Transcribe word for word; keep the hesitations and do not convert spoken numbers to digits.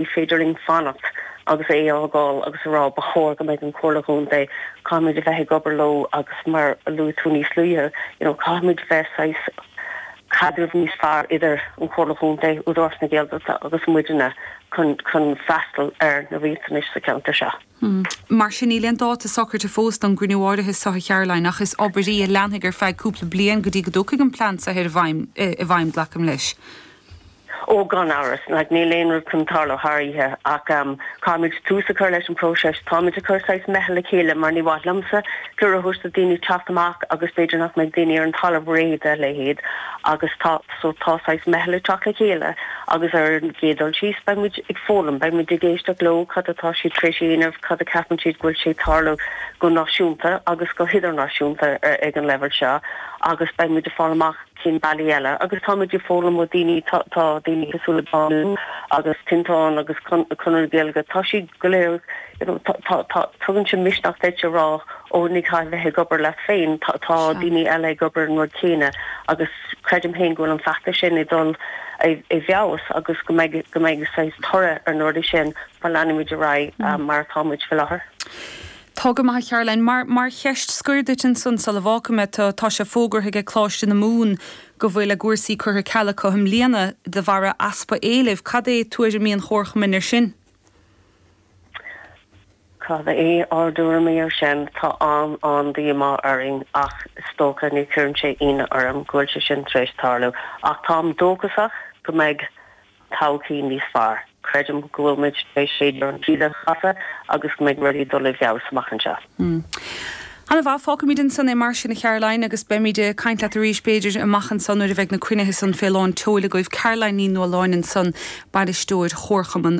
Ní féidir linn fanacht agus é a fhágáil agus a rá ba chóir go mbeidh an Chomhairle Chontae caithfimid a bheith ag obair leo agus mar a luaigh tú níos luaithe, you know, caithfimid bheith saghas caidreamh níos fearr idir an Chomhairle Chontae, Údarás na Gaeltachta agus muidne chun chun freastal ar na riachtanais sa cheantar seo. Hmm. Mar sin níl aon dáta socraithe fós don gcruinniú áirithe seo a Charoline ach is obair í a leanfaidh ar feadh cúpla bliain go dtí go dtiocfaidh an plean seo ar bhfeidhm i bhfeidhm glacaim leis. Ó gan amhras, like, níl aon rud chun tarlú thar oíche ach um, caithfimid tús a chur leis an próiseas táimid ag cur saghas meitheal le chéile mar ní mhaith liomsa cuireadh a thabhairt do daoine teacht amach agus b'fhéidir nach mbeidh daoine ar an talamh réidh dá leithéid agus tá so tá saghas meitheal ag teacht le chéile agus ar an gcéad dul síos beimid ag foghlaim beimid ag éisteacht leo cad atá siad tar éis a dhéanamh cad a ceapann siad go bhfuil sé ag tarlú go náisiúnta agus go hidirnáisiúnta ag an leibhéal seo agus beimid ag fáil amach cén bealaí eile agus táimid ag foghlaim ó daoine tá daoine cosúil le Bánú agus Tinteán agus Conradh na Gaeilge tá siad go léir you know, tá tá tugann sé misneach duit a rá ó ní caithfidh bheith ag obair leat féin tá tá daoine eile ag obair an rud céanna agus creidim féin go bhfuil an feachtas sin ag dul i bhfeabhas agus go mbeidh go mbeidh saghas toradh ar na rudaí sin má leanaimid ar aghaidh mar atáimid faoi láthair. Tá go maith Caroline mar mar cheist scoir duit ansan sula bhfágfaidh mé tú tá sé fógartha ag Coláiste na Mumhan go bhfuil a gcúrsaí curtha ar ceal acu i mbliana de bharr easpa éilimh, Cad é tuairimí an chomharchumainn ar sin? Cad é ár dtuairimí ar sin tá an an-díomá orainn ach is dócha ní chuireann sé ionadh orm go bhfuil sé sin tar éis tarlú ach táim dóchasach go mbeidh todhchaí níos fearr. Creidim go bhfuil muid tar éis b'fhéidir an taoide a chasadh agus go mbeidh rudaí dul i bhfeabhas amach anseo. Ana mhaith fágfaimid ansan é mar sin a Charoline agus beimid ag caint leat arís b'fhéidir amach ansan nuair a bheidh na cruinnithe san fé lán tseoil agaibh Caroline Ní Nualláin ansan bainisteoir Chomharchumann